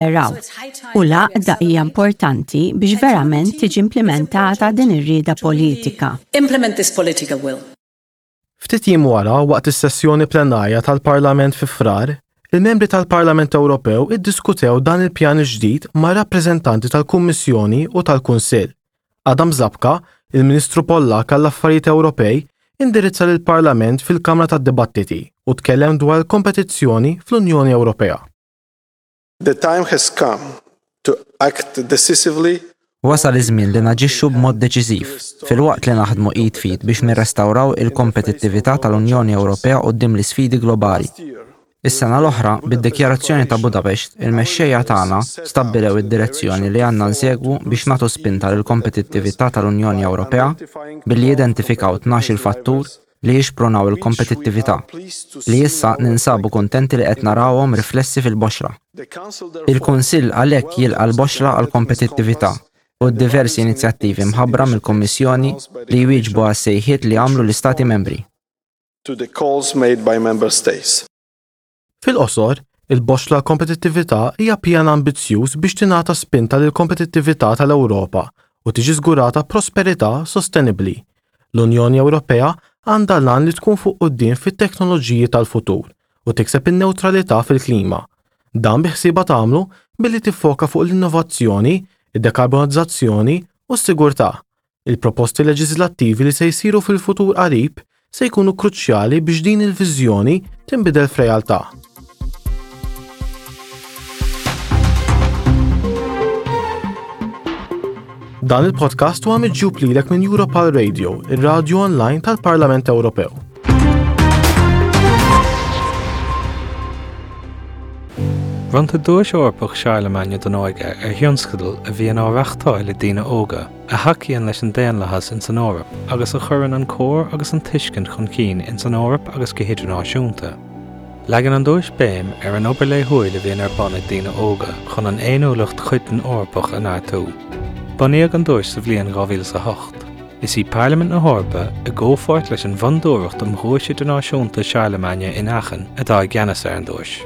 Raw. U l-għaqda hija importanti biex verament tiġi implimentata din ir-rieda politika. Implement this political will. Ftit jiem wara, waqt is-sessjoni plenarja tal-Parlament fi Frar, il-membri tal-Parlament Ewropew iddiskutew dan il-pjan il-ġdid ma' rappreżentanti tal-Kummissjoni u tal-Kunsill. Adam Zabka, il-Ministru Pollakk għall-Affarijiet Ewropej, indirizza lill-Parlament fil-Kamra tad-Dibattiti u tkellem dwar il-kompetizzjoni fl-Unjoni Ewropea. The time has come to act decisively Wasal iż-żmien li naġixxu b'mod deċiżiv, filwaqt li naħdmu id f'id biex nirrestawraw il-kompetittività tal-Unjoni Ewropea quddiem l-isfidi globali. Is-sena l-oħra, bid-Dikjarazzjoni ta' Budapest, il-mexxejja tagħna stabbilew id-direzzjoni li għandna nsegwu biex nagħtu spinta lill-kompetittività tal-Unjoni Ewropea billi identifikaw 12-il fattur li jixprunaw il-kompetittività, li issa ninsabu kuntenti li qed narawhom riflessi fil-boxra. Il-Kunsill għalhekk jilqa' l-boxra għall-kompetittività u d-diversi inizjattivi mħabbra mill-Kummissjoni li jwieġbu għas-sejħiet li għamlu l-Istati Membri. To the calls made by Member States. Fil-qosor, il-Boxla għall-Kompetittività hija pjan ambizzjuż biex tingħata spinta lill-kompetittività tal-Ewropa u tiġi żgurata prosperità sostenibbli. L-Unjoni Ewropea għandha l-għan li tkun fuq quddiem fit-teknoloġiji tal-futur u tikseb in-newtralità fil-klima. Dan biħsiebha tagħmlu billi tiffoka fuq l-innovazzjoni, id-dekarbonizzazzjoni u s-sigurtà. Il-proposti leġiżlattivi li se jsiru fil-futur qarib se jkunu kruċjali biex din il-viżjoni tinbidel f'realtà. Dan il-podcast huwa miġjub lilek minn Europal Radio, ir-radju online tal-Parlament Ewropew. Bronntar Duais Eorpach Charlemagne don Óige ar thionscadal a bhíonn á reáchtáil ag daoine óga, a thacaíonn leis an daonlathas ins an Eoraip agus a chuireann an comhar agus an tuiscint chun cinn ins an Eoraip agus go hidirnáisiúnta. Leagann an duais béim ar an obair laethúil a bhíonn ar bun ag daoine óga chun an fhéiniúlacht choiteann Eorpach a neartú. Bunaíodh an duais sa bhliain 2008. Is í Parlaimint na hEorpa, i gcomhpháirt leis an bhFondúireacht um Dhuais Idirnáisiúnta Charlemagne in Aachen, atá i gceannas ar an duais.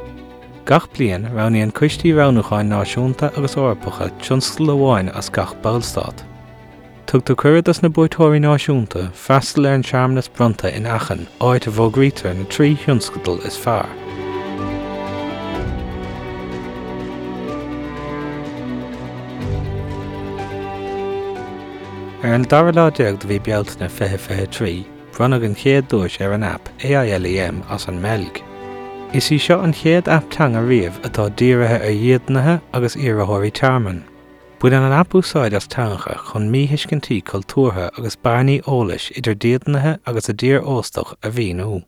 Gach bliain, roghnaíonn coistí roghnúcháin náisiúnta agus Eorpacha tionscadal amháin as gach Ballstát. Tugtar cuireadh dos na buaiteoirí náisiúnta freastal ar an searmanas bronnta in Aachen, áit a bhfógraítear na 3 thionscadal is fearr. Ar an dara lá déag de mhí Bealtaine 2023, Bronnadh an chéad duais ar an aip AILEM as an mBeilg. Is í seo an chéad aip teanga riamh atá dírithe ar dhídeanaithe agus iarrthóirí tearmainn. Baineann an aip úsáid as teangacha chun míthuiscintí cultúrtha agus bearnaí eolais idir dídeanaithe agus a dtír óstach a mhíniú.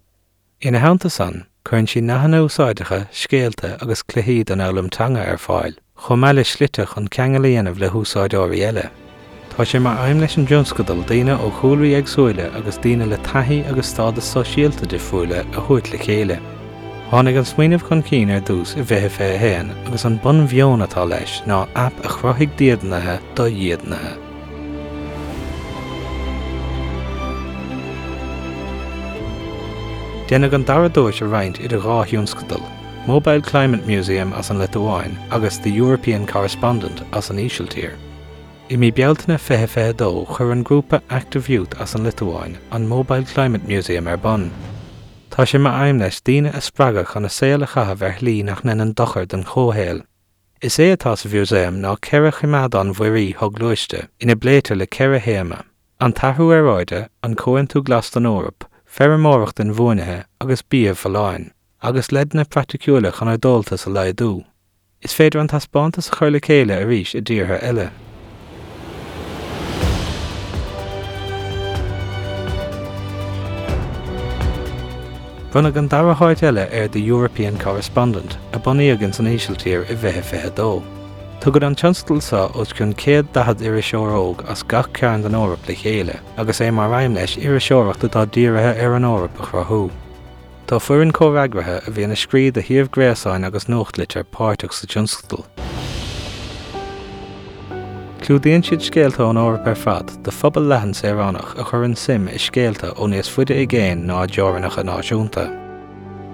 Ina theannta san, cuireann sí nathanna úsáideacha, scéalta agus cluichí don fhoghlaim teanga ar fáil, chomh maith le slite chun ceangal a dhéanamh le húsáideoirí eile. Tá sé mar aidhm leis an dtionscadal daoine ó chúlraí éagsúla agus daoine le taithí agus stádas sóisialta difriúla a thabhairt le chéile. Tháinig an smaoineamh chun cinn ar dtús i 2021 agus an bunmheon atá leis ná aip a chruthaigh dídeanaithe do dhídeanaithe. Déanadh an dara duais a roinnt idir dhá thionscadal, Mobile Climate Museum as an Liotuáin agus The European Correspondent as an Ísiltír. I mí Bealtaine 2022 chuir an grúpa Active Youth as an Liotuáin an Mobile Climate Museum ar bun. Tá sé mar aidhm leis daoine a spreagadh chun a saol a chaitheamh ar shlí nach ndéanann dochar don chomhshaol. Is é atá sa mhúsaem ná 4 choimeádán mhuirí shoghluaiste ina bpléitear le 4 théama, an t-athrú aeráide, an Comhaontú Glas don Eoraip, feirmeoireacht inbhuanaithe agus bia folláin, agus leideanna praiticiúla chun ár dtomhaltas a laghdú. Is féidir an taispeántas a chur le chéile arís i dtíortha eile. Bronnadh an dara háit eile ar The European Correspondent, a bunaíodh ins an Ísiltír i 2022. Tugann an tionscadal seo os cionn 140 iriseoir óg as gach cearn den Eoraip le chéile, agus é mar aidhm leis iriseoireacht atá dírithe ar an Eoraip a chruthú. Tá foireann comhfhreagraithe a bhíonn ag scríobh do shuíomh gréasáin agus nuachtlitir páirteach sa tionscadal. Clúdaíonn siad scéalta ón Eoraip ar fad do phobal leathan saoránach a chuireann suim i scéalta ó níos faide i gcéin ná a dteorainneacha náisiúnta.